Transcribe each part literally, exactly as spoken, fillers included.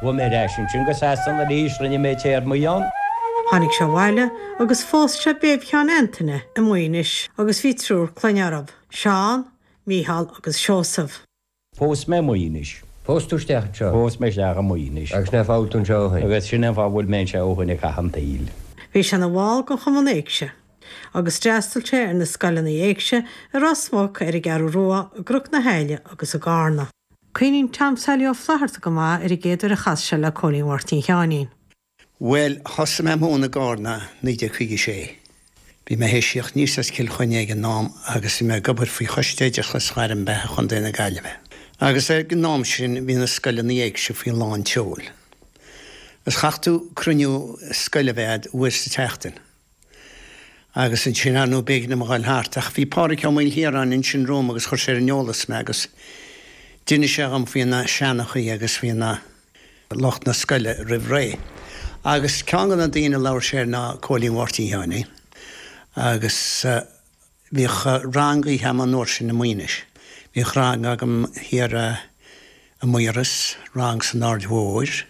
Chuaigh mé ar ais ansin go Sasana arís, rinne mé téarmaí ann. Tháinig sé abhaile agus phós sé Béibh Sheáin Antaine i Maínis agus bhí triúr clainne orthu, Seán, Mícheál agus Seosamh. Phós mé Maínis. Phós tú isteach anseo. Phós mé isteach i Maínis. Agus ná fáil tú anseo ó Agus sin an fáth bhfuil mé anseo ó shin ag caitheamh an tsaoil. Bhí sé ina bhall den Chumann Éigse, agus d'fhreastail sé ar na scoileanna éigse i Ros Muc ar an gCeathrú Rua, i gCnoc na hAille agus i gCarna. Cuimhníonn Tom Sally Ó Flatharta go maith ar an gcéad uair a chas sé le Cóilín Mháirtín Sheáinín. Well, thosaigh mé múineadh i gCarna naoi déag caoga sé. Bhí mé théis tíocht aníos as Cill Chainnigh ag an am agus bhí mé ag obair faoi Choiste Oideachais Ghairm Beatha Chontae na Gaillimhe. Agus ag an am sin bhí na scoileanna éigse faoi lán tseoil. Is chaithfeadh tú cruinniú scoile a bheith uair sa tseachtain. Agus ansin ar nó b'éigean dom a ghabháil thart ach bhí Pádraig Ó Maoilchiaráin ansin romham agus chuir sé ar an eolas mé agus d'inis sé dhom faoi na seanchaí agus faoi na lucht na scoile roimh ré. Agus ceann de na daoine labhair sé ná Cóilín Mháirtín Sheáinín agus uh, bhíodh rang agam an uair sin i Maínis. Bhíodh rang agam thiar uh, i Maíros, rang san Aird Mhóir,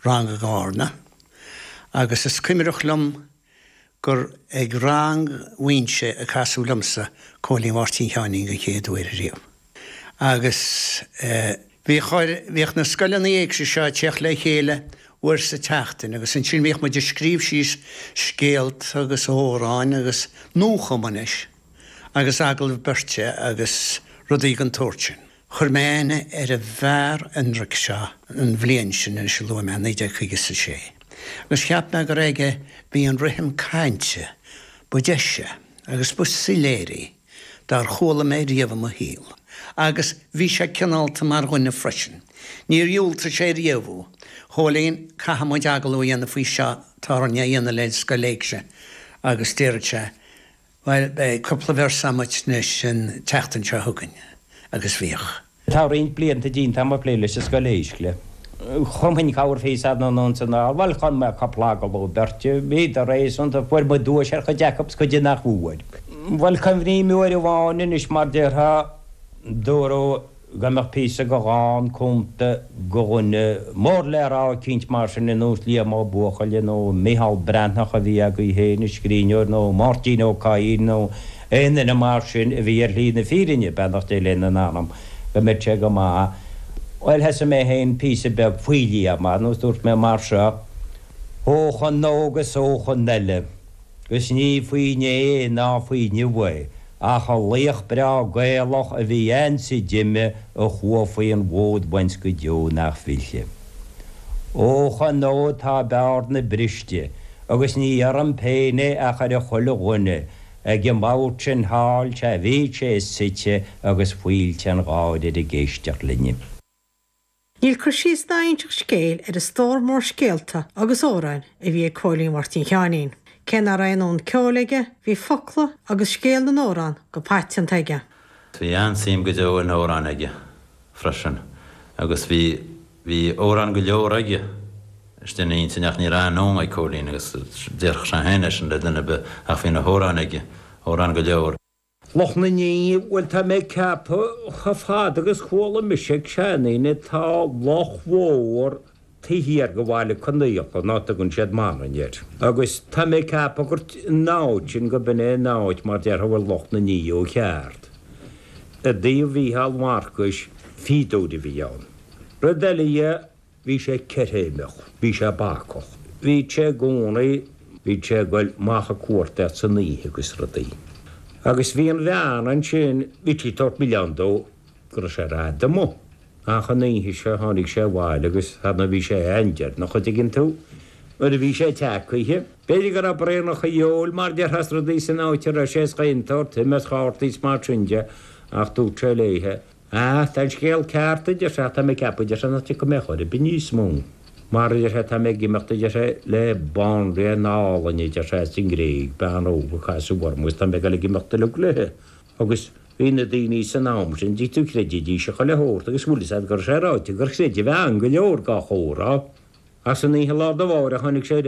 rang i gCarna, agus is cuimhneach liom gur ag rang mhúinte a casadh liomsa Cóilín Mháirtín Sheáinín den chéad uair riamh. Agus uh, bhíodh na scoileanna éigse seo ag teacht le chéile uair sa tseachtain agus ansin bhíodh muid ag scríobh síos scéalta agus amhráin agus nuachumanis agus agallamh beirte agus rudaí den tsórt sin. Chuir mé aithne ar an bhfear ionraic seo an bhliain sin in se luaigh mé naoi déag caoga a sé. Agus cheap mé gur aige bhí an rithim cainte ba deise agus ba soiléire dár chuala mé riamh i mo shaol. Agus bhí sé cineálta mar dhuine freisin. Níor dhiúltaigh sé riamh. Chóilín caithfidh muid agallamh a dhéanamh faoi seo tá a dhéanamh le scoil éigse agus deireadh sé Well beidh cúpla véarsa anois an tseachtain seo chugainn agus bhíodh. Tá roinnt blianta déanta agam ag plé leis an scoil éigse. Chumfainn corrphíosa anonn is anall, bhuel chum mé cúpla agallamh beirte, bhíodar réasúnta fuair muid duais ar chuid acu is cuid nach bhfuair. Bhuel cuimhním uair amháin anois mar déarfá dúradh go mbeadh píosa de dhán cumtha do dhuine mór le rá eicínt mar sin ar nós Liam Ó Buachalla nó Micheál Breathnach a bhí agaibh féin, an scríbhneoir nó Máirtín Ó Cadhain nó aon duine mar sin a bhí ar shlí na fírinne beannacht Dé lena anam go mbeadh sé go maith. Bhuel thosaigh mé féin píosa beag faoi Liam nó dúirt mé mar seo Eochaidh óg is eochan eile, gus ní faoi inné ná faoi inniu é, ach an laoch breá Gaelach a bhí ann is a d'imigh a chuaigh faoin bhfód uainn go deo nach bhfillfidh. Eochan ó tá bearna briste, agus ní orm féin é ach ar a chuile dhuine, ag an mbord sin thall sé bhí sé suite agus fuilt an gháir ag éisteacht linne. Níl cur síos ná inseacht scéil ar an stór mór scéalta agus amhrán a bhí ag Cóilín Mháirtín Sheáinín. Cé nach raibh aon fhonn ceoil aige, bhí focla agus scéal na n-amhrán go paiteanta aige. Bhí an-suim go deo in amhráin aige freisin agus bhí bhí amhráin go leor aige istigh ina intinn ach ní raibh aon ag Cóilín agus déarfadh sé féin leis an le duine be ach bhí na hamhráin aige amhráin go leor. Loch na nDiabhal bhuel tá mé ceaptha chomh fada agus chuala mise ag seandaoine tá loch mhór taobh thiar de Bhaile Conaola ná tugann siad Manainn air. Agus tá mé ceaptha gur an áit sin go b'in é an áit mar déarfá bhfuil Loch na nDiabhal ceart. I dtaobh Mhícheál Mharcais fíodóir a bhí ann. Rud eile dhe bhí sé ceiréimeach, bhí sé bacach. Bhí sé i gcónaí bhí sé ag goil amach ag cuartaíocht san oíche agus rudaí. Agus bhí an bhean ansin bhí sí ag tabhairt milleán dó go raibh sé rada amuigh. Ach an oíche seo tháinig sé abhaile agus thana bhí sé an-deireanach an dtuigeann tú. Nuair a bhí sé tagtha. B'fhéidir go raibh braonacha óil mar déarfá is rudaí san áit a raibh sé is chaon tsórt ime is chártaí is mar sin de ach dúirt sé léithe. Ah, tá an scéal ceart a deir sé tá mé ceaptha deir sé nach dtiocfaidh mé chor ar bith níos mó. Mar a deir sé tá mé ag imeacht a deir sé le banríon álainn a deir sé as an nGréig bean óg a casadh orm agus tá mé ag dul ag imeacht uilig léithe. Agus bhí na daoine san am sin dí tú chreidfidís a chuile shórt agus bhfuil a fhios agat gur sé ráite gur chreid a bhean go leor dá chomhrá. As an oíche lá de bharr a tháinig sé